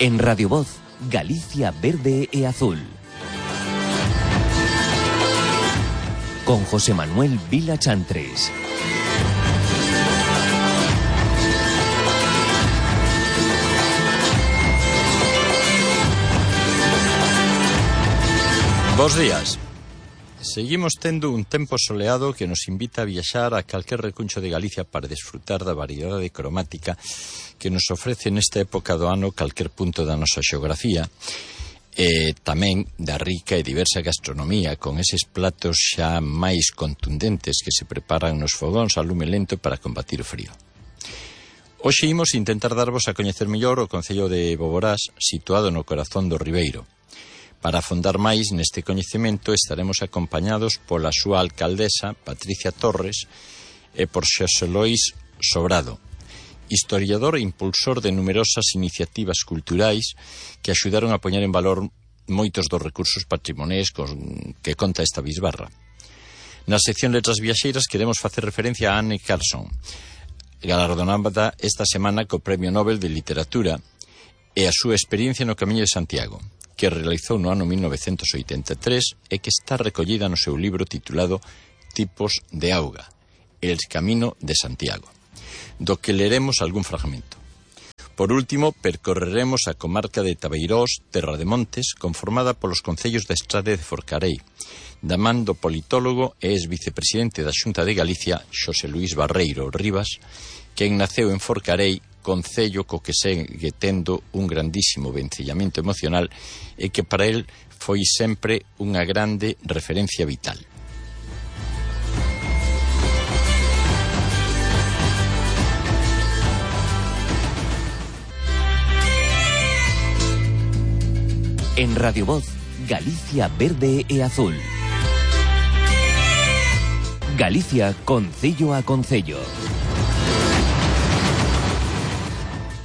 En Radio Voz, Galicia verde e azul. Con José Manuel Vila Chantres. Bos días. Seguimos tendo un tempo soleado que nos invita a viaxar a calquer recuncho de Galicia para desfrutar da variedade cromática que nos ofrece nesta época do ano calquer punto da nosa xeografía, e tamén da rica e diversa gastronomía con eses platos xa máis contundentes que se preparan nos fogóns a lume lento para combatir o frío. Hoxe imos intentar darvos a coñecer mellor o concello de Boborás, situado no corazón do Ribeiro. Para afondar máis neste coñecemento estaremos acompañados pola súa alcaldesa, Patricia Torres, e por Xosé Lois Sobrado, historiador e impulsor de numerosas iniciativas culturais que axudaron a poñer en valor moitos dos recursos patrimoniais que conta esta bisbarra. Na sección Letras Viaxeiras queremos facer referencia a Anne Carson, galardonada esta semana co Premio Nobel de Literatura, e a súa experiencia no Camiño de Santiago, que realizou no ano 1983 e que está recollida no seu libro titulado Tipos de Auga, El Camino de Santiago, do que leremos algún fragmento. Por último, percorreremos a comarca de Tabeirós, Terra de Montes, conformada polos concellos da Estrade de Forcarei, da man do politólogo e ex-vicepresidente da Xunta de Galicia, Xosé Luís Barreiro Rivas, quen naceu en Forcarei, concello co que segue tendo un grandísimo vencellamento emocional e que para el foi sempre unha grande referencia vital. En Radio Voz, Galicia verde e azul. Galicia concello a concello.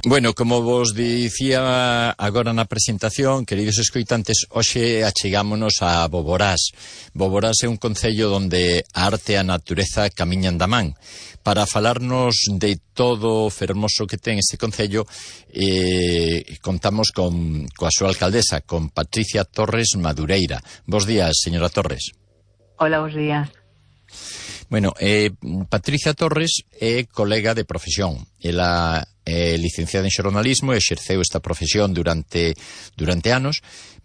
Bueno, como vos dicía agora na presentación, queridos escoitantes, hoxe achegámonos a Boborás. Boborás é un concello onde a arte e a natureza camiñan da man. Para falarnos de todo o fermoso que ten este concello, contamos coa súa alcaldesa, con Patricia Torres Madureira. Bos días, señora Torres. Hola, bos días. Bueno, Patricia Torres é colega de profesión. Ela é licenciada en xornalismo e exerceu esta profesión durante anos,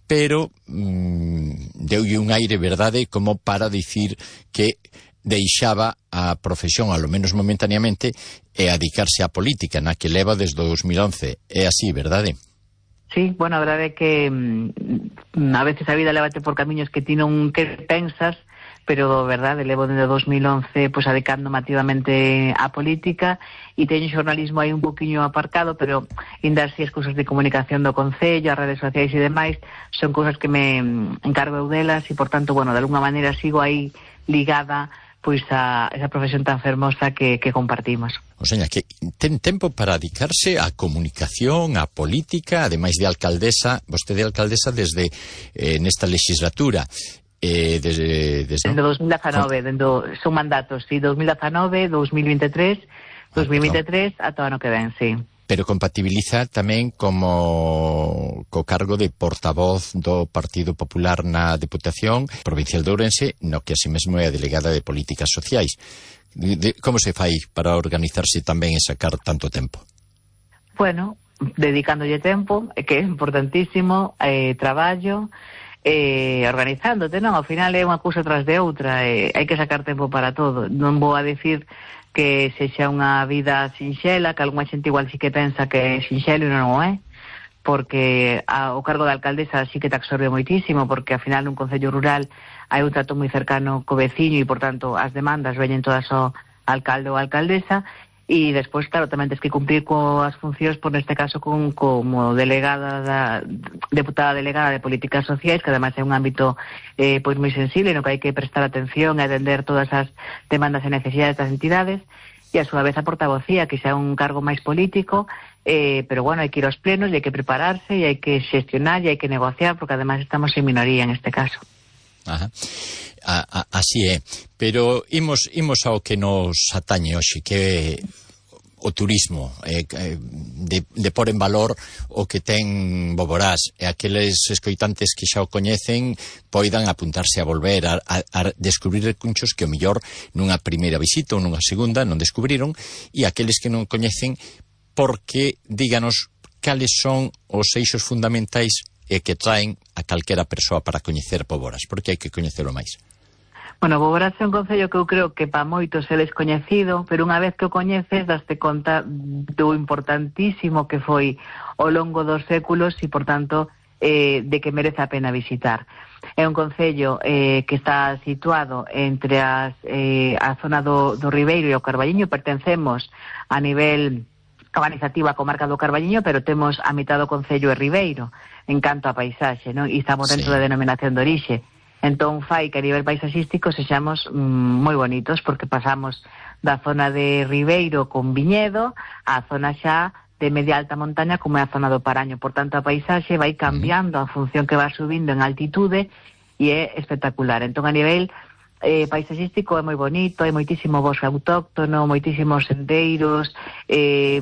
pero deulle un aire, verdade, como para dicir que deixaba a profesión, ao menos momentaneamente, e a dedicarse á política, na que leva desde 2011. É así, verdade? Sí, bueno, a verdade é que a veces a vida lévate por camiños que ti non que pensas, pero, verdade, levo desde 2011 pues, adicándome activamente á política e teño xornalismo aí un poquinho aparcado, pero ainda así as cousas de comunicación do concello, as redes sociais e demais, son cousas que me encargo eu delas e, por tanto, bueno, de alguna maneira sigo aí ligada pois a esa profesión tan fermosa que compartimos. O sea, que ten tempo para dedicarse á comunicación, á política, ademais de alcaldesa, vostede é alcaldesa desde nesta legislatura. Desde 2019, son mandatos, sí, 2019, 2023, 2023 ata o ano que ven, sí. Pero compatibiliza tamén como co cargo de portavoz do Partido Popular na Deputación Provincial de Ourense, no que así mesmo é a delegada de Políticas Sociais. Como se fai para organizarse tamén e sacar tanto tempo? Bueno, dedicándolle tempo, que é importantísimo, traballo, organizándote, non? Ao final é unha cousa tras de outra, hai que sacar tempo para todo. Non vou a decir que sexa unha vida sinxela, que algunha xente igual sí que pensa que é sinxelo e non o é, porque o cargo de alcaldesa sí que te absorbe moitísimo, porque ao final nun concello rural hai un trato moi cercano co veciño e, por tanto, as demandas veñen todas ao alcalde ou alcaldesa. E despois, claro, tamén tens que cumprir coas funcións, por neste caso, como delegada deputada delegada de Políticas Sociais, que ademais é un ámbito pois moi sensible, no que hai que prestar atención e atender todas as demandas e necesidades das entidades, e a súa vez a portavocía, que xa é un cargo máis político, pero bueno, hai que ir aos plenos, e hai que prepararse, e hai que xestionar, e hai que negociar, porque ademais estamos en minoría en este caso. Ajá. Así é, pero imos ao que nos atañe hoxe, que o turismo, de pôr en valor o que ten Boborás, e aqueles escoitantes que xa o coñecen poidan apuntarse a volver a descubrir recunchos que o mellor nunha primeira visita ou nunha segunda non descubriron, e aqueles que non coñecen, porque díganos cales son os eixos fundamentais e que traen a calquera persoa para coñecer Boborás, porque hai que coñecelo máis. Bueno, Boborás é un concello que eu creo que para moitos é descoñecido, pero unha vez que o coñeces daste conta do importantísimo que foi ao longo dos séculos e, por tanto, de que merece a pena visitar. É un concello que está situado entre a zona do Ribeiro e o Carballiño. Pertencemos a nivel organizativo a comarca do Carballiño, pero temos a mitad do concello e Ribeiro en canto a paisaxe, non? E estamos dentro da denominación de orixe. Entón fai que a nivel paisaxístico sexamos moi bonitos, porque pasamos da zona de Ribeiro con viñedo á zona xa de media alta montaña como é a zona do Paraño. Por tanto, a paisaxe vai cambiando a función que va subindo en altitude e é espectacular. Entón, a nivel paisaxístico é moi bonito, hai moitísimo bosque autóctono, moitísimos sendeiros,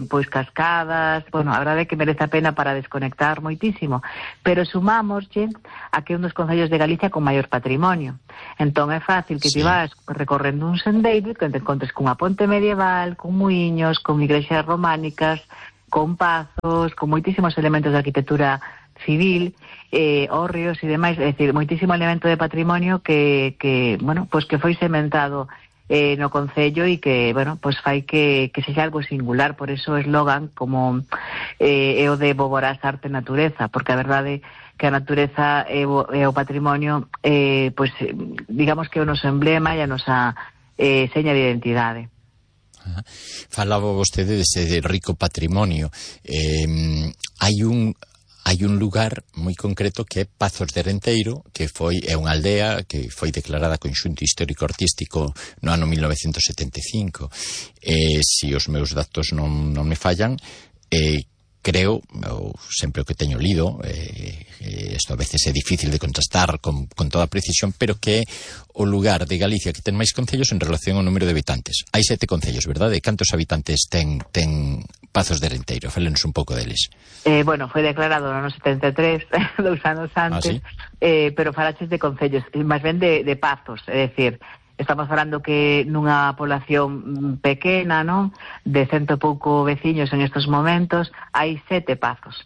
pois cascadas. Bueno, a verdade é que merece a pena para desconectar moitísimo, pero sumámoslle a que é un dos concellos de Galicia con maior patrimonio. Entón é fácil que ti vas recorrendo un sendeiro e que te encontres cunha ponte medieval, con muiños, con igrexas románicas, con pazos, con moitísimos elementos de arquitectura civil, hórreos e demais, é dicir, moitísimo elemento de patrimonio que bueno, pois que foi sementado no concello e que, bueno, pois fai que sexa algo singular. Por eso o eslogan como é o de Boborás arte e natureza, porque a verdade que a natureza e o patrimonio pois digamos que é o noso emblema e a nosa seña de identidade. Falaba vostede dese rico patrimonio. Hai un lugar moi concreto que é Pazos de Renteiro, que é unha aldea que foi declarada conxunto histórico-artístico no ano 1975. Se os meus datos non me fallan, creo, sempre o que teño lido, isto a veces é difícil de contrastar con toda precisión, pero que é o lugar de Galicia que ten máis concellos en relación ao número de habitantes. Hai 7 concellos, verdade? Cantos habitantes ten Pazos de Renteiro? Fálenos un pouco deles. Bueno, foi declarado no ano 73, 2 anos antes, pero falaches de concellos, máis ben de pazos, é dicir, estamos falando que nunha población pequena, non? De 100 e pouco veciños en estos momentos, hai 7 pazos.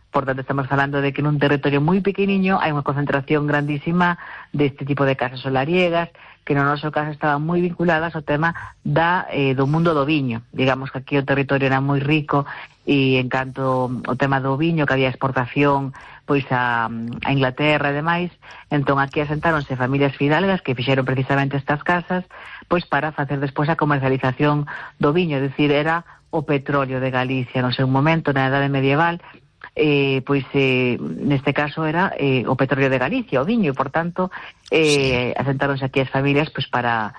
Por tanto, estamos falando de que nun territorio moi pequeniño hai unha concentración grandísima deste tipo de casas solariegas, que no noso caso estaban moi vinculadas ao tema do mundo do viño. Digamos que aquí o territorio era moi rico e en canto o tema do viño, que había exportación pois a Inglaterra e demais, entón aquí asentáronse familias fidalgas que fixeron precisamente estas casas pois para facer despois a comercialización do viño, é dicir, era o petróleo de Galicia no seu momento, na Edade Medieval. Neste caso era o petróleo de Galicia, o viño, e por tanto asentáronse aquí as familias pois para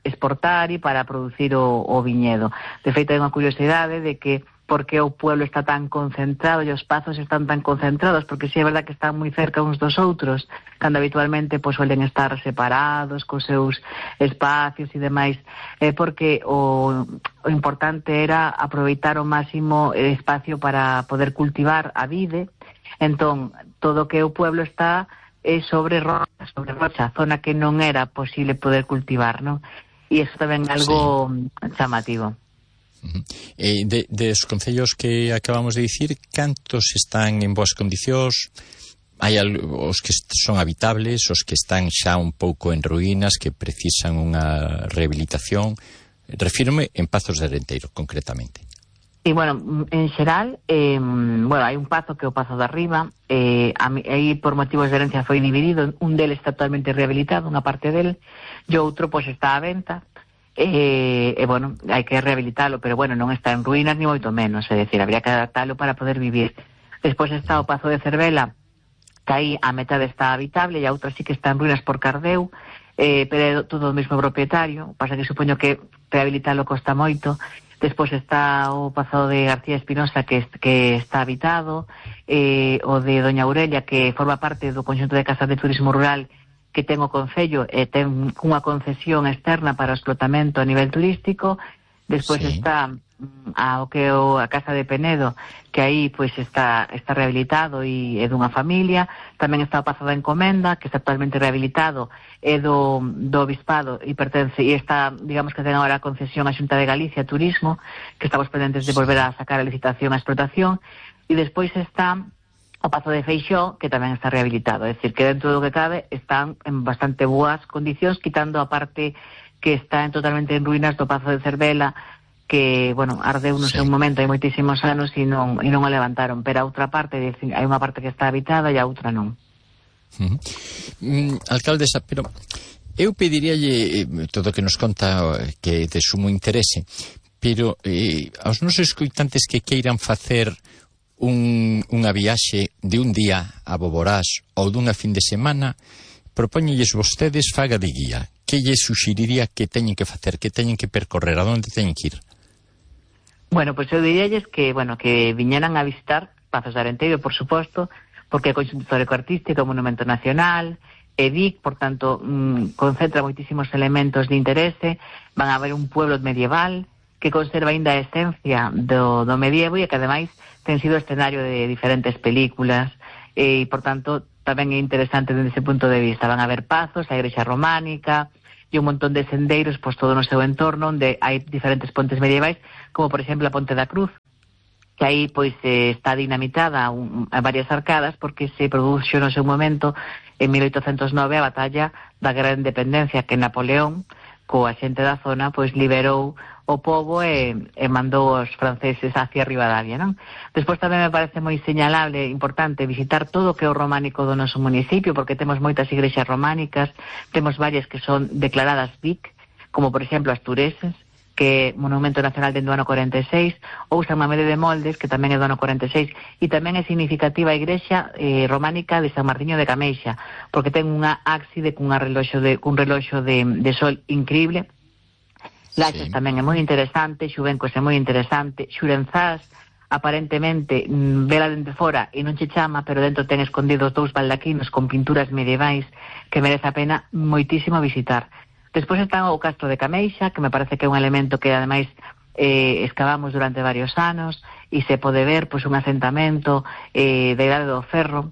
exportar e para producir o viñedo. De feito, hai unha curiosidade de que por que o pueblo está tan concentrado e os pazos están tan concentrados, porque si é verdad que están moi cerca uns dos outros, cando habitualmente pois suelen estar separados cos seus espacios e demais, porque o importante era aproveitar o máximo espacio para poder cultivar a vide. Entón, todo o que o pueblo está sobre rocha, zona que non era posible poder cultivar, non? E iso tamén é algo chamativo. Dos concellos que acabamos de dicir, cantos están en boas condicións? Hai os que son habitables, os que están xa un pouco en ruínas, que precisan unha rehabilitación? Refírome en Pazos de Renteiro, concretamente. E, bueno, en xeral, hai un pazo que é o Pazo de Arriba, aí por motivos de herencia foi dividido, un deles está totalmente rehabilitado, unha parte del, e outro pois está á venta, bueno, hai que rehabilitalo, pero bueno, non está en ruínas ni moito menos, é dicir, habría que adaptalo para poder vivir. Despois está o Pazo de Cervela, que aí a metade está habitable e a outra sí que está en ruínas por Cardeu, pero é todo o mesmo propietario, pasa que supoño que rehabilitalo costa moito. Despois está o Pazo de García Espinosa, que está habitado, o de Doña Aurelia, que forma parte do conxunto de casas de turismo rural que ten o concello e ten unha concesión externa para o explotamento a nivel turístico. Despois sí. está o que é a Casa de Penedo, que aí pois está rehabilitado e é dunha familia. Tamén está o Pazo da Encomenda, que está actualmente rehabilitado, é do Obispado e pertence, e está, digamos que ten agora a concesión a Xunta de Galicia Turismo, que estamos pendentes de volver a sacar a licitación a explotación. E despois está o Pazo de Feixó, que tamén está rehabilitado, é dicir, que dentro do que cabe están en bastante boas condicións, quitando a parte que está totalmente en ruínas do Pazo de Cervela, que, bueno, ardeu no seu momento hai moitísimos anos e non o levantaron, pero a outra parte, hai unha parte que está habitada e a outra non. Alcaldesa, pero eu pediríalle todo o que nos conta que é de sumo interese, pero aos nosos escoitantes que queiran facer unha viaxe de un día a Boborás ou dunha fin de semana, propóñelles vostedes faga de guía. Que lle suxeriría que teñen que facer, que teñen que percorrer, a onde teñen que ir? Bueno, pois eu diríalles que viñeran a visitar Pazos de Arenteiro, por suposto, porque é conxunto histórico-artístico, monumento nacional, e Vic, por tanto, concentra moitísimos elementos de interese. Van a ver un pueblo medieval que conserva aínda a esencia do medievo e que, ademais, ten sido escenario de diferentes películas e, por tanto, tamén é interesante desde ese punto de vista. Van a ver Pazos, a igrexa románica e un montón de sendeiros, pois todo no seu entorno, onde hai diferentes pontes medievais, como por exemplo a Ponte da Cruz, que aí pois está dinamitada a varias arcadas, porque se produxo no seu momento en 1809 a batalla da Guerra de Independencia, que Napoleón, coa xente da zona, pois liberou o pobo e mandou os franceses hacia Ribadavia, non? Despois tamén me parece moi señalable, importante, visitar todo o que é o románico do noso municipio, porque temos moitas igrexas románicas, temos varias que son declaradas Vic, como por exemplo Astureses, que é Monumento Nacional dentro do ano 46, ou San Mamede de Moldes, que tamén é do ano 46, e tamén é significativa a igrexa románica de San Martiño de Cameixa, porque ten unha ábside cun reloxo de sol increíble. Laxas tamén é moi interesante, Xuvencos é moi interesante, Xurenzás, aparentemente, vela dende fora e non che chama, pero dentro ten escondidos 2 baldaquinos con pinturas medievais que merece a pena moitísimo visitar. Despois está o Castro de Cameixa, que me parece que é un elemento que ademais excavamos durante varios anos e se pode ver pois un asentamento da Idade do Ferro,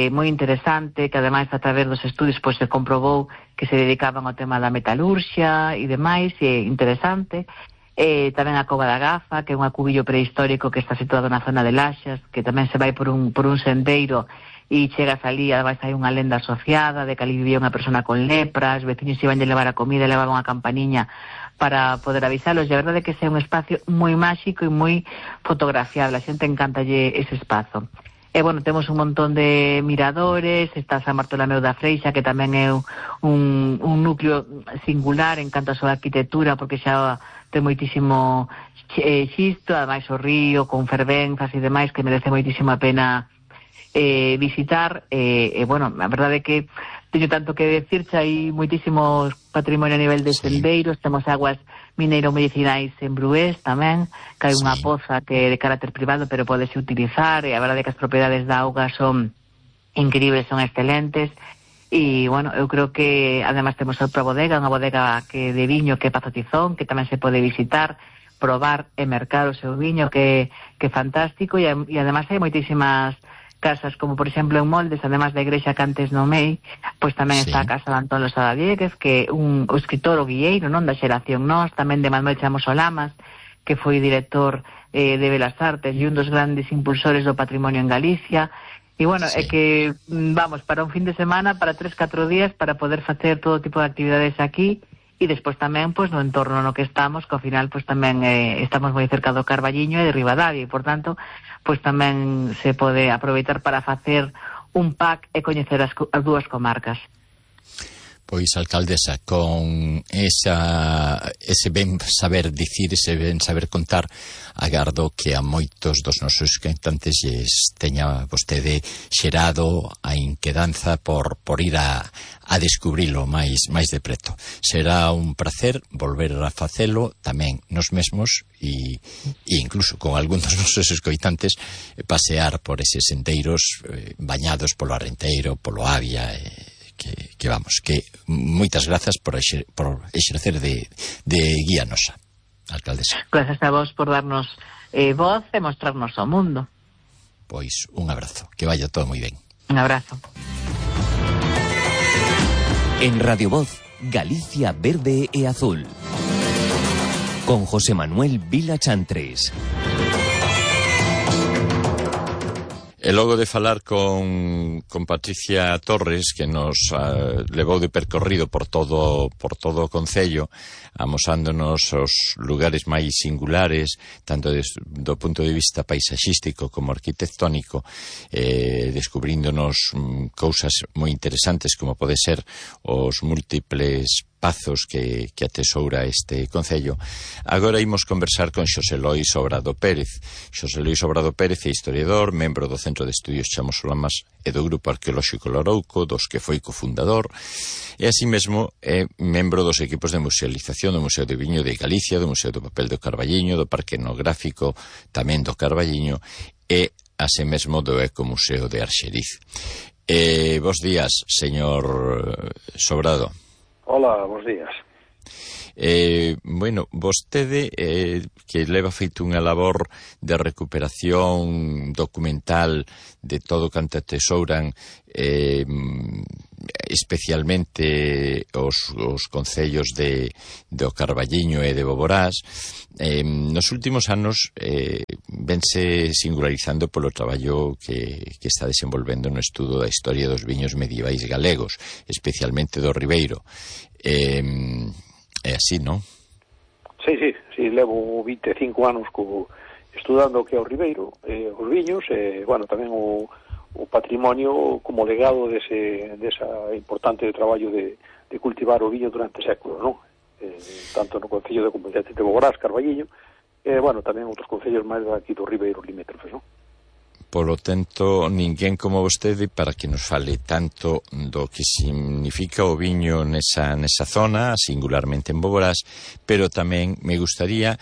moi interesante, que ademais a través dos estudios pois se comprobou que se dedicaban ao tema da metalurxia e demais, e é interesante. Tamén a Cova da Gafa, que é un acubillo prehistórico que está situado na zona de Laxas, que tamén se vai por un sendeiro e chegas ali, ademais hai unha lenda asociada de que ali vivía unha persona con lepra, os veciños iban a levar a comida e levaban unha campaniña para poder avisalos, e a verdade é que é un espacio moi máxico e moi fotografiable, a xente encantalle ese espazo. E, bueno, temos un montón de miradores, está San Bartolomeu da Freixa, que tamén é un núcleo singular en canto a súa arquitectura, porque xa ten moitísimo xisto, ademais o río, con fervenzas e demais, que merece moitísimo a pena visitar. Bueno, a verdade é que teño tanto que decir, xa hai moitísimos patrimonio a nivel de sendeiros, temos aguas mineiro-medicinais en Brués tamén, que hai unha poza que é de carácter privado, pero podese utilizar, e a verdade é que as propiedades da auga son increíbles, son excelentes, e, bueno, eu creo que además temos outra bodega, unha bodega que de viño que é Pazo Tizón, que tamén se pode visitar, probar e mercar o seu viño, que é fantástico, e además hai moitísimas casas, como por exemplo en Moldes, además da igrexa que antes nomei, pois tamén está a casa de Antón Losada Dieguez, que é o escritor o guilleiro, non, da xeración Nós, tamén de Manuel Chamos Olamas, que foi director de Belas Artes e un dos grandes impulsores do patrimonio en Galicia. E, bueno, é que vamos para un fin de semana, para 3-4 días, para poder facer todo tipo de actividades aquí, e despois tamén, pois, no entorno no que estamos, que ao final, pois, tamén estamos moi cerca do Carballiño e de Ribadavia, e, por tanto, pois tamén se pode aproveitar para facer un pack e coñecer as dúas comarcas. Pois, alcaldesa, con ese ben saber dicir, ese ben saber contar, agardo que a moitos dos nosos cantantes lles teña vostede xerado a inquedanza por ir a descubrilo máis de preto. Será un placer volver a facelo tamén nos mesmos e incluso con algún dos nosos escoitantes pasear por eses sendeiros bañados polo Arenteiro, polo Avia, que vamos, que moitas grazas por exercer de guía nosa. alcaldesa. Gracias a vos por darnos voz e mostrarnos ao mundo. Pois un abrazo, que vaya todo moi ben. Un abrazo. En Radio Voz, Galicia Verde e Azul. Con José Manuel Vila Chantres. E logo de falar con Patricia Torres, que nos levou de percorrido por todo o concello, amosándonos os lugares máis singulares, tanto do punto de vista paisaxístico como arquitectónico, descubríndonos cousas moi interesantes como pode ser os múltiples pazos que atesoura este concello. Agora imos conversar con Xosé Lois Obrado Pérez. Xosé Lois Obrado Pérez é historiador, membro do Centro de Estudios Chamosolamas e do Grupo Arqueolóxico Lourouco, dos que foi cofundador, e así mesmo é membro dos equipos de musealización do Museo de Viño de Galicia, do Museo do Papel do Carballiño, do Parque Etnográfico tamén do Carballiño e así mesmo do Ecomuseo de Arxeriz. Bos días, señor Sobrado. Hola, bons días. Bueno, vostede que leva feito unha labor de recuperación documental de todo canto atesouran especialmente os concellos do Carballiño e de Boborás, nos últimos anos vense singularizando polo traballo que está desenvolvendo no estudo da historia dos viños medievais galegos, especialmente do Ribeiro. É así, non? Sí, levo 25 anos estudando o que é o Ribeiro, os viños, bueno, tamén o patrimonio como legado desa importante traballo de cultivar o viño durante séculos, non? Tanto no concello de Comunidade de Boborás, Carballiño, bueno, tamén outros concellos máis aquí do Ribeiro limítrofes, non? Polo tanto, ninguén como vostede para que nos fale tanto do que significa o viño nesa zona, singularmente en Boborás, pero tamén me gustaría,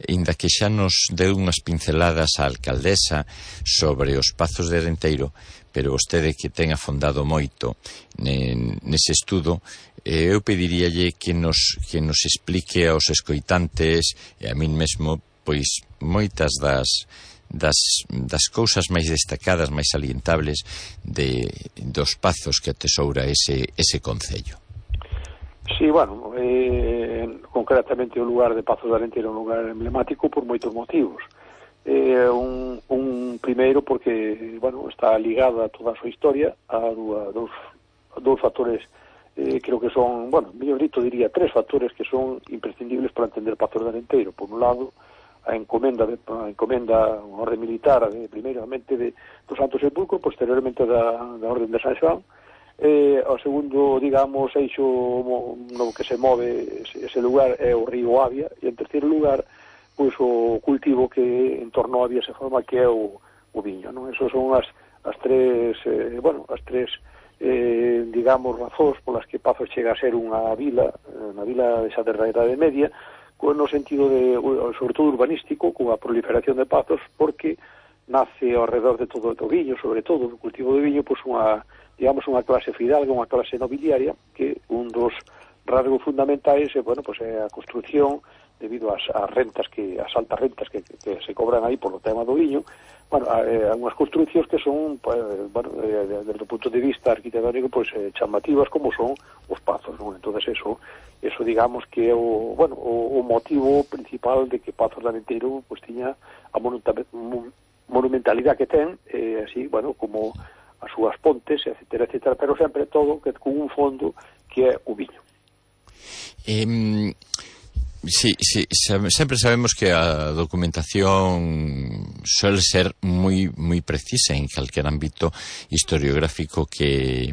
inda que xa nos deu unhas pinceladas á alcaldesa sobre os pazos de Arenteiro, pero vostede que ten afondado moito nese estudo, eu pediríalle que nos explique aos escoitantes e a min mesmo, pois, moitas das cousas máis destacadas, máis salientables dos pazos que atesoura ese concello. Sí, bueno, concretamente o lugar de Pazos de Arenteiro é un lugar emblemático por moitos motivos. Un primeiro porque, bueno, está ligada a toda a súa historia a dous factores, creo que son, bueno, mellor dito diría tres factores que son imprescindibles para entender Pazos de Arenteiro. Por un lado, a encomenda unha orde militar primeiramente do Santo Sepulcro, posteriormente da orde de San Xoán, o segundo, digamos, eixo no que se move ese lugar é o río Avia, e en terceiro lugar, pois o cultivo que en torno a Avia se forma, que é o viño, non? Esas son as tres digamos, razóns polas que Pazos chega a ser unha vila desa da Idade Media, no sentido sobre todo urbanístico, con a proliferación de pazos, porque nace ao redor de todo o viño, sobre todo do cultivo de viño, pois unha clase fidalga, unha clase nobiliaria, que un dos rasgos fundamentais é a construción debido ás altas rentas que se cobran aí polo tema do viño. Bueno, unhas construcións que son, desde o punto de vista arquitectónico, chamativas como son os pazos, non? Entonces eso digamos que é o motivo principal de que Pazos de Arenteiro tiña a monumentalidade que ten, así, como as súas pontes, etcétera, pero sempre todo con un fondo que é o viño. Sí, sempre sabemos que a documentación suele ser moi precisa en calquer ámbito historiográfico que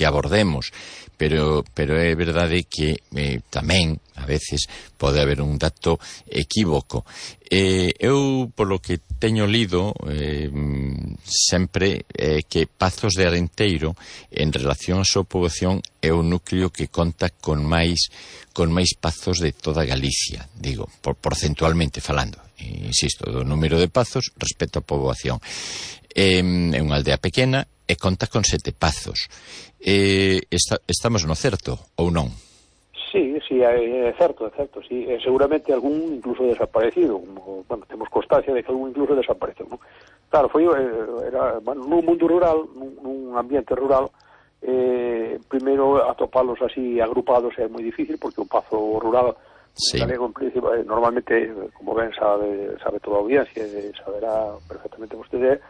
abordemos, pero é verdade que tamén a veces pode haber un dato equívoco. Eu, polo que teño lido, sempre que Pazos de Arenteiro, en relación á súa poboación, é o núcleo que conta con máis pazos de toda Galicia, digo, porcentualmente falando, insisto, do número de pazos respecto á poboación. É unha aldea pequena e conta con 7 pazos. Estamos no certo, ou non? Sí, sí, é certo, sí, seguramente algún incluso desaparecido, bueno, temos constancia de que algún incluso desapareceu, non? Claro, era, bueno, nun mundo rural, nun ambiente rural, primeiro atopalos así agrupados é moi difícil, porque o pazo rural galego, en principio, normalmente, como ben sabe toda a audiencia, saberá perfectamente vostede,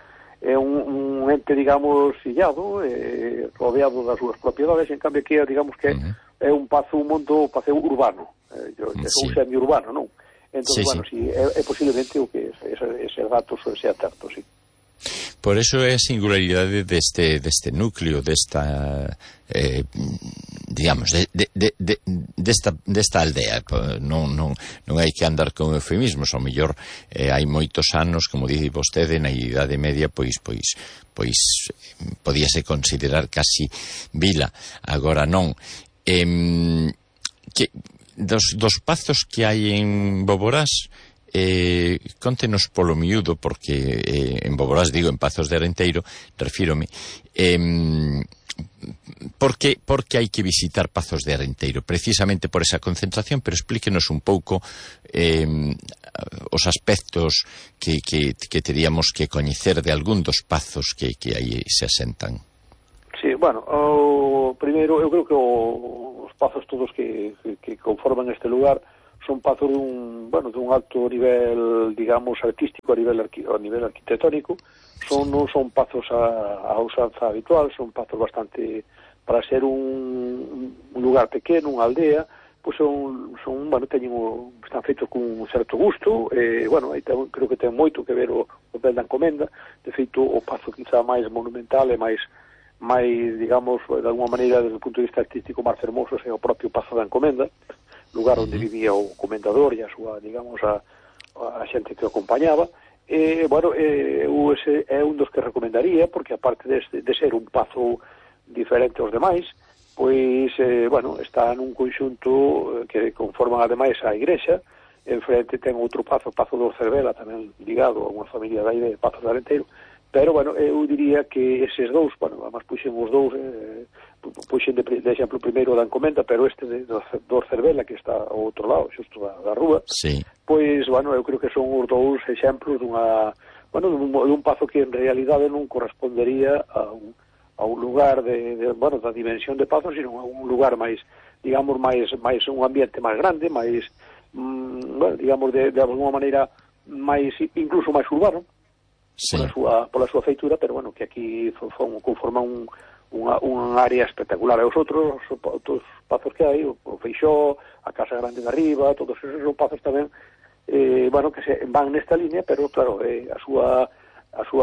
é un ente, digamos, illado, rodeado das súas propiedades, en cambio aquí, digamos que é un mundo urbano, un semi-urbano, non? Entón, bueno, sí, é posiblemente o que ese dato sea certo, sí. Por eso é a singularidade deste núcleo, desta digamos, desta aldea. Non hai que andar con eufemismos, ao mellor hai moitos anos, como dice vostede, na Idade Media, pois podíase considerar casi vila, agora non. Dos pazos que hai en Boborás, contenos polo miúdo, porque en Boborás, digo, en Pazos de Arenteiro, refírome, porque hai que visitar Pazos de Arenteiro, precisamente por esa concentración, pero explíquenos un pouco os aspectos que teríamos que coñecer de algún dos pazos que aí se asentan. Sí, bueno, primeiro, eu creo que os pazos todos que conforman este lugar son pazos dun alto nivel, digamos, artístico, a nivel arquitectónico. Non son pazos a usanza habitual, son pazos bastante, para ser un lugar pequeno, unha aldea, pois están feitos con un certo gusto, creo que ten moito que ver o papel da encomenda. De feito, o pazo quizá máis monumental e máis, digamos, de alguma maneira, desde o punto de vista artístico, máis fermoso é o propio Pazo da Encomenda, lugar onde vivía o comendador e a súa, digamos, a xente que o acompañaba. Ese é un dos que recomendaría, porque aparte de ser un pazo diferente aos demais, pois, está nun conxunto que conforman ademais a igrexa. En frente ten outro pazo, Pazo do Cervela, tamén ligado a unha familia da de Pazos de Arenteiro. Pero, eu diría que eses dous, además puxen os dous, puxen de exemplo primeiro da encomenda, pero este do Cervela, que está ao outro lado, xusto da rúa, pois, eu creo que son os dous exemplos dun pazo que en realidade non correspondería a un lugar da dimensión de Pazos, sino a un lugar máis, digamos, máis un ambiente máis grande, máis, digamos, de alguma maneira, incluso máis urbano, pola súa feitura, pero que aquí conforman unha área espectacular. E os outros pazos que hai, o Feixó, a Casa Grande de Arriba, todos esos son pazos tamén que se van nesta línea, pero claro, a súa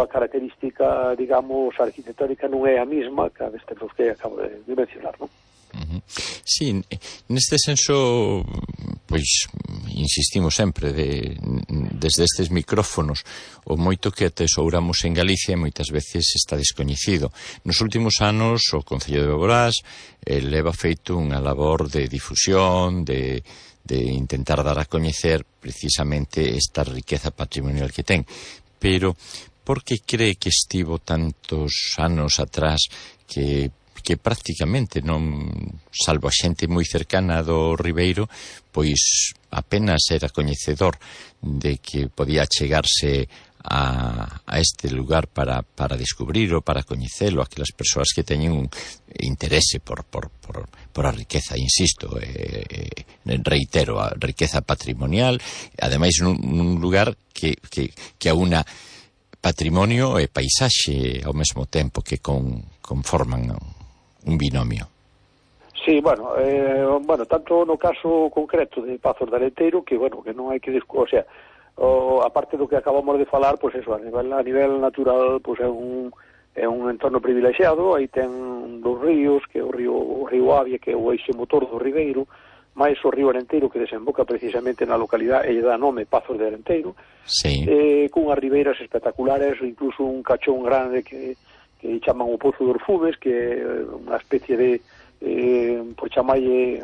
característica, digamos, arquitectónica non é a mesma que a destes que acabo de mencionar, non? Sí, neste senso, pois insistimos sempre desde estes micrófonos o moito que atesouramos en Galicia moitas veces está descoñecido. Nos últimos anos o Concello de Boborás leva feito unha labor de difusión, de intentar dar a coñecer precisamente esta riqueza patrimonial que ten. Pero por que cree que estivo tantos anos atrás que prácticamente non, salvo a xente moi cercana do Ribeiro, pois apenas era coñecedor de que podía chegarse a este lugar para descubrirlo, para coñecelo, aquelas persoas que teñen un interese por a riqueza, insisto, reitero, a riqueza patrimonial, ademais nun lugar que aúna patrimonio e paisaxe ao mesmo tempo, que conforman un binomio. Sí, tanto no caso concreto de Pazos de Arenteiro, que non hai que discutir, aparte do que acabamos de falar, pois eso, a nivel natural, pois é un entorno privilexiado. Aí ten dos ríos, que é o río Avia, que é o eixe motor do Ribeiro, máis o río Arenteiro, que desemboca precisamente na localidade e dá nome Pazos de Arenteiro, cunhas ribeiras espectaculares, incluso un cachón grande que chaman o Pozo dos Fumes, que é unha especie de, por chamalle,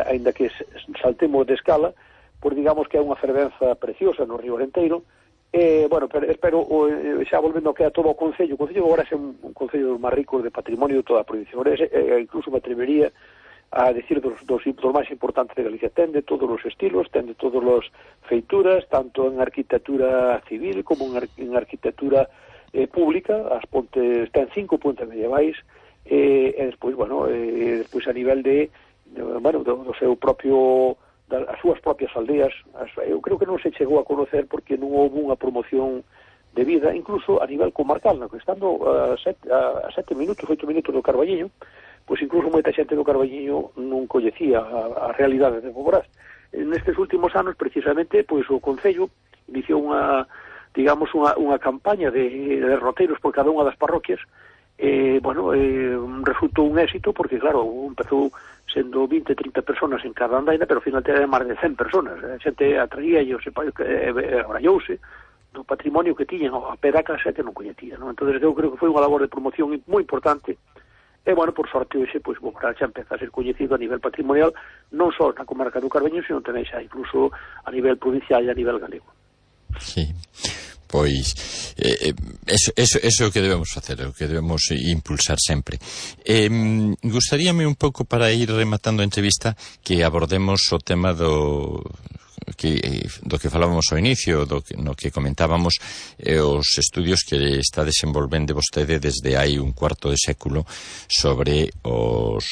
ainda que saltemos de escala, pois digamos que é unha fervenza preciosa no río Arenteiro. Espero, xa volvendo que a todo o Concello agora é un Concello dos máis ricos de patrimonio de toda a provincia. Incluso me atrevería a decir dos máis importantes de Galicia. Ten de todos os estilos, ten de todas as feituras, tanto en arquitectura civil como en arquitectura pública. As pontes ten 5 pontes medievais, e despois, despois a nivel do seu propio, as súas propias aldeas, eu creo que non se chegou a conocer porque non houve unha promoción de vida, incluso a nivel comarcal, no? Estando a 7 minutos, 8 minutos do Carballiño, pois incluso moita xente do Carballiño non coñecía a realidade de Boborás. Nestes últimos anos, precisamente, pois o Concello iniciou unha campaña de derroteiros por cada unha das parroquias. Resultou un éxito porque, claro, empezou sendo 20, 30 personas en cada andaina, pero ao final era máis de 100 personas. A xente atraía e abrallouse do patrimonio que tiñan a pé da casa que non coñecía, non? Entón, eu creo que foi unha labor de promoción moi importante. E, por sorte, hoxe, pois, Boborás xa empeza a ser coñecido a nivel patrimonial, non só na comarca do Carballiño, sino tamén xa incluso a nivel provincial e a nivel galego. Sí, pois eso é o que debemos facer, o que debemos impulsar sempre. Gustaríame un pouco, para ir rematando a entrevista, que abordemos o tema do que falábamos ao inicio, no que comentábamos, os estudios que está desenvolvendo vostede desde hai un cuarto de século sobre os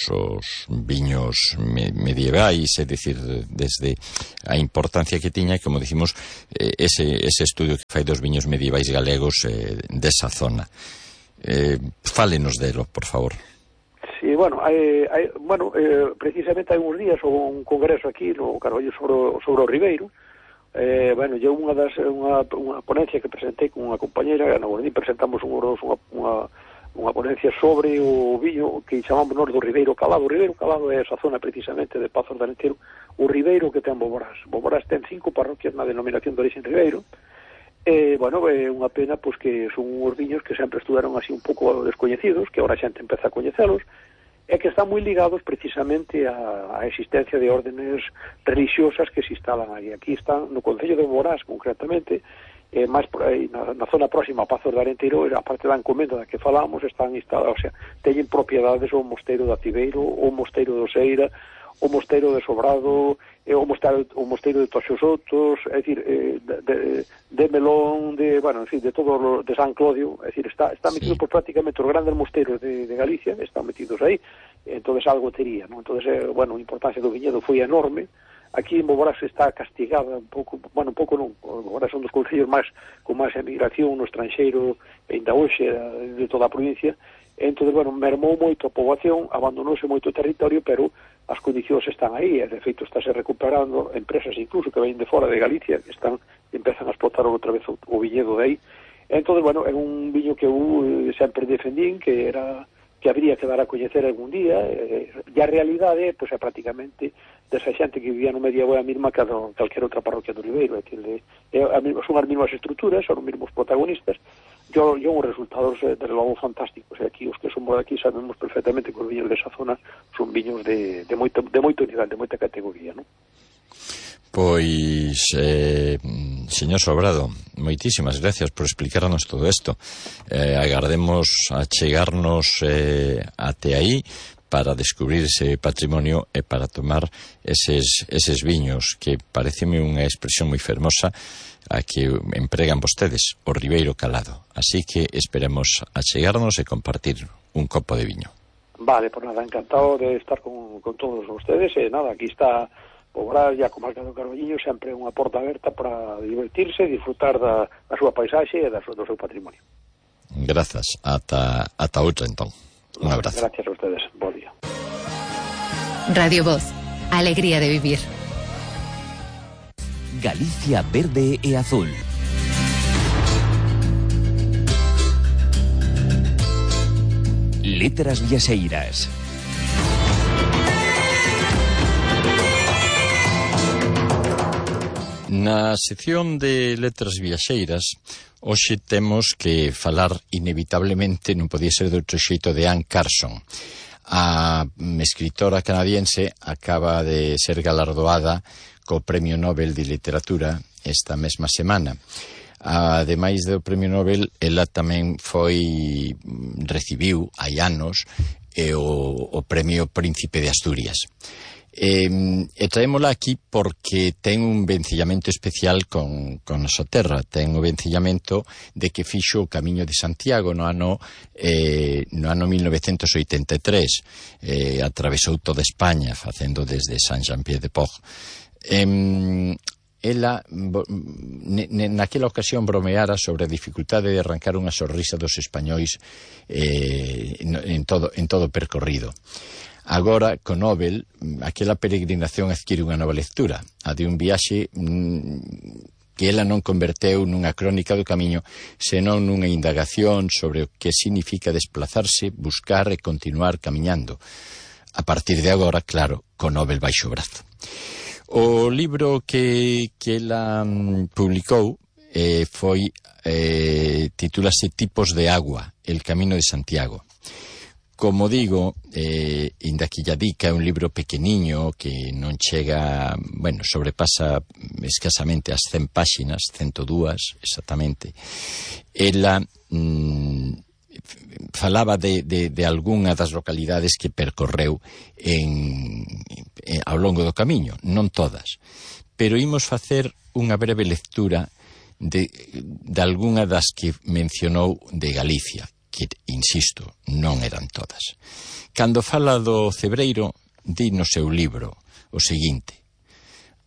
viños medievais, é dicir, desde a importancia que tiña, como dicimos, ese estudio que fai dos viños medievais galegos desa zona. Fálenos delo, por favor. Sí, precisamente hai uns días houve un congreso aquí no Carballo sobre o Ribeiro. Eu unha ponencia que presentei con unha compañera, na Guardín presentamos unha ponencia sobre o viño que chamamos nós do Ribeiro Calado. O Ribeiro Calado é esa zona precisamente de Pazos de Arenteiro, o Ribeiro que ten Boborás. Boborás ten 5 parroquias na denominación de origen Ribeiro. É unha pena pois que son uns viños que sempre estudaron así un pouco descoñecidos, que agora a xente empeza a coñecelos, e que están moi ligados precisamente á existencia de órdenes religiosas que se instalan aí. Aquí están, no Concello de Boborás, concretamente, máis por aí, na zona próxima a Pazos de Arenteiro, a parte da encomenda da que falamos, están instalados, teñen propiedades o Mosteiro de Ativeiro, o Mosteiro de Oseira, o Mosteiro de Sobrado, o Mosteiro de Toxosotos, é dicir, de Melón, de todo, de San Clodio, é dicir, está metido por prácticamente os grandes mosteiros de Galicia, están metidos aí, entonces algo tería, non? Entonces, a importancia do viñedo foi enorme. Aquí en Boborás está castigada un pouco non, Boborás son dos concellos con máis emigración no estranxeiro, ainda hoxe, de toda a provincia. Entón, mermou moito a poboación, abandonouse moito o territorio, pero as condicións están aí, e de feito estáse recuperando empresas incluso que ven de fora de Galicia, que empezan a explotar outra vez o viñedo de aí. Entón, é un viño que eu sempre defendín, que habría que dar a coñecer algún día, e a realidade é prácticamente desa xente que vivía no medievo é a mesma que calquera outra parroquia do Ribeiro, son as mesmas estruturas, son os mesmos protagonistas. Son os resultados, desde logo, fantásticos. E aquí, os que somos aquí, sabemos perfectamente que os viños desa zona son viños de moito nivel, de moita categoría, non? Pois, señor Sobrado, moitísimas gracias por explicarnos todo isto. Agardemos a chegarnos até aí para descubrir ese patrimonio e para tomar eses viños, que pareceme unha expresión moi fermosa a que empregan vostedes, o Ribeiro Calado. Así que esperemos a chegarnos e compartir un copo de viño. Vale, pues nada, encantado de estar con todos ustedes. Nada, aquí está Boborás e a comarca do Carballiño, sempre unha porta aberta para divertirse e disfrutar da súa paisaxe e do seu patrimonio. Grazas. Ata outra, entón. Un abrazo. Gracias a ustedes. Buen día. Radio Voz. Alegría de vivir. Galicia verde e azul. Letras viaxeiras. Na sección de letras viaxeiras, hoxe temos que falar inevitablemente, non podía ser de outro xeito, de Anne Carson. A escritora canadiense acaba de ser galardoada co Premio Nobel de Literatura esta mesma semana. Ademais do Premio Nobel, ela tamén recibiu hai anos o Premio Príncipe de Asturias. E traémola aquí porque ten un vencillamento especial con nosa terra. Ten o vencillamento de que fixo o Camiño de Santiago no ano 1983. Atravesou toda España facendo desde Saint-Jean-Pied-de-Port. Ela naquela ocasión bromeara sobre a dificultade de arrancar unha sorrisa dos españois en todo o percorrido. Agora, con Nobel, aquela peregrinación adquire unha nova lectura, a de un viaxe que ela non converteu nunha crónica do camiño, senón nunha indagación sobre o que significa desplazarse, buscar e continuar camiñando. A partir de agora, claro, con Nobel baixo o brazo. O libro que ela publicou titúlase Tipos de agua, el camino de Santiago. Como digo, inda que ya dica, é un libro pequeniño que non chega, sobrepasa escasamente as 100 páxinas, 102 exactamente. Ela falaba de algunha das localidades que percorreu ao longo do camiño, non todas, pero imos facer unha breve lectura de algunha das que mencionou de Galicia, que, insisto, non eran todas. Cando fala do Cebreiro, di no seu libro o seguinte: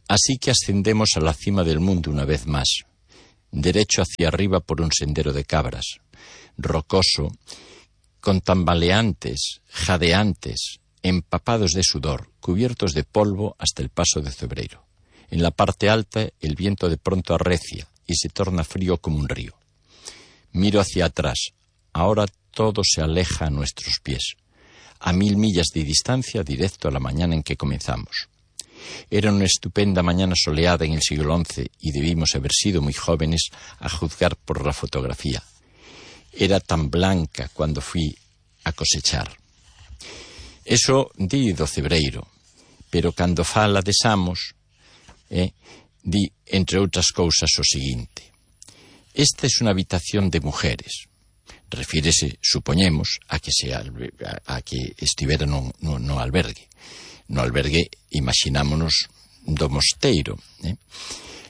así que ascendemos a la cima del mundo una vez más, derecho hacia arriba por un sendero de cabras, rocoso, con tambaleantes, jadeantes, empapados de sudor, cubiertos de polvo hasta el paso de Cebreiro. En la parte alta el viento de pronto arrecia y se torna frío como un río. Miro hacia atrás. Ahora todo se aleja a nuestros pies. A 1000 millas de distancia, directo a la mañana en que comenzamos. Era una estupenda mañana soleada en el siglo XI y debimos haber sido muy jóvenes a juzgar por la fotografía. Era tan blanca cuando fui a cosechar. Eso di do Cebreiro, pero cando fala de Samos, di, entre outras cousas, o seguinte: esta es una habitación de mujeres. Refírese, supoñemos, a que estivera no albergue. No albergue, imaginámonos, do mosteiro.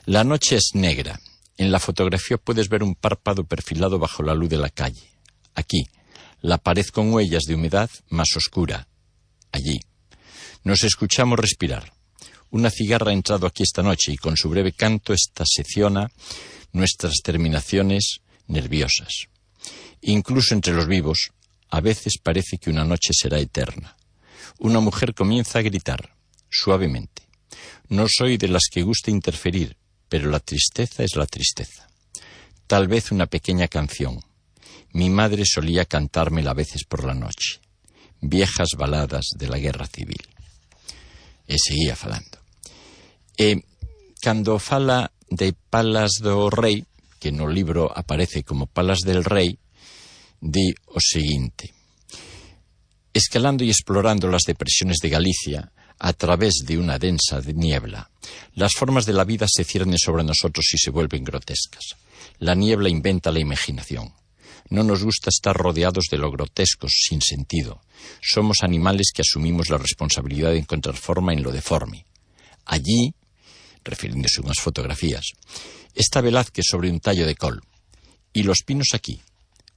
La noche es negra. En la fotografía puedes ver un párpado perfilado bajo la luz de la calle. Aquí, la pared con huellas de humedad más oscura. Allí. Nos escuchamos respirar. Una cigarra ha entrado aquí esta noche y con su breve canto esta secciona nuestras terminaciones nerviosas. Incluso entre los vivos, a veces parece que una noche será eterna. Una mujer comienza a gritar, suavemente. No soy de las que gusta interferir, pero la tristeza es la tristeza. Tal vez una pequeña canción. Mi madre solía cantármela a veces por la noche. Viejas baladas de la guerra civil. E seguía falando. Cando fala de Palas do Rei, que no libro aparece como Palas del Rei, di o seguinte: escalando y explorando las depresiones de Galicia a través de una densa niebla, las formas de la vida se ciernen sobre nosotros y se vuelven grotescas. La niebla inventa la imaginación. No nos gusta estar rodeados de lo grotesco, sin sentido. Somos animales que asumimos la responsabilidad de encontrar forma en lo deforme. Allí, refiriéndose a unas fotografías, está Velázquez sobre un tallo de col, y los pinos aquí.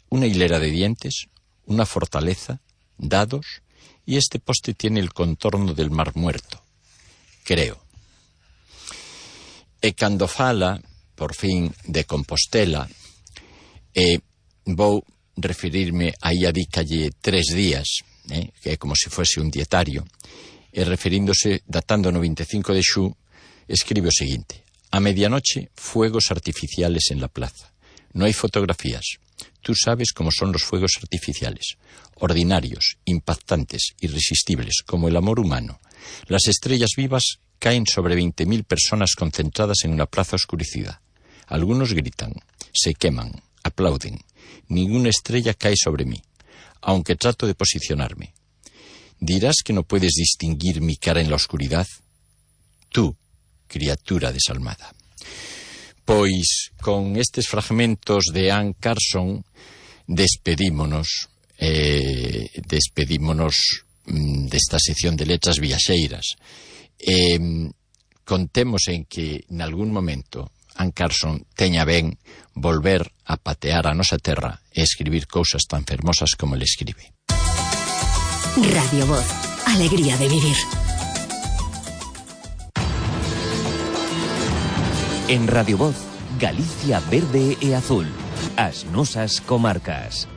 Una hilera de dientes, una fortaleza, dados, y este poste tiene el contorno del Mar Muerto. Creo. E cando fala, por fin, de Compostela, vou referirme aí a dícalle 3 días, que é como se fose un dietario, e referíndose, datando no 25 de xu, escribe o seguinte: a medianoche, fuegos artificiales en la plaza. No hay fotografías. Tú sabes cómo son los fuegos artificiales, ordinarios, impactantes, irresistibles, como el amor humano. Las estrellas vivas caen sobre 20.000 personas concentradas en una plaza oscurecida. Algunos gritan, se queman, aplauden. Ninguna estrella cae sobre mí, aunque trato de posicionarme. ¿Dirás que no puedes distinguir mi cara en la oscuridad? Tú, criatura desalmada. Pois con estes fragmentos de Anne Carson despedímonos desta sección de letras viaxeiras. Contemos en que nalgún momento Anne Carson teña ben volver a patear a nosa terra e escribir cousas tan fermosas como le escribe. Radio Voz, alegría de vivir. En Radio Voz, Galicia verde e azul. As nosas comarcas.